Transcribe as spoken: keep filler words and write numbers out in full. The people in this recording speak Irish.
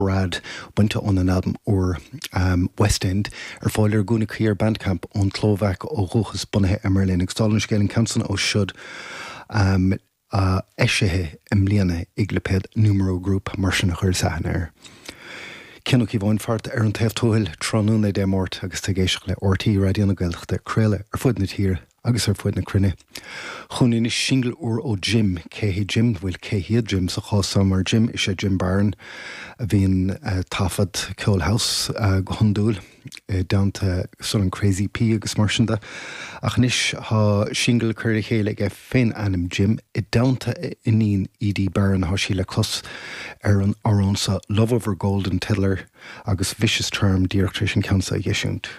Rad bainte ón albam úr um, West End ar fáil ar gúna ar Bandcamp ón tSlóvaic ó dhúchas bunaithe i mBerlin ag stálan scéal an ceann ó siúd um, uh, eisithe i mbliana ag lipéad Numero Group mar sin a chuir aithne air. Cian Ó Cíobháin fart ar an taobh tuathail tráthnóna Dé Máirt agus tú ag éisteacht le R T É Raidió na Gaeltachta craoladh ar fud na tíre agus ar fud na cruinne. Chugainn anois singil úr ó Jim cé hé Jim bhfuil cé hiad Jim sa chás mar Jim is é Jim Barron a bhíonn uh, taifead ceol house uh, go hiondúil i dteannta Sul an Crazy P agus mar sin de. Ach anois tá singil curtha le chéile aige fén ainm Jim i dteannta iníon Edie Barron tá sí le clos ar an amhrán seo Love Over Golden Tiddler agus Vicious Charm díreach tar éis an ceann seo a eisiúint.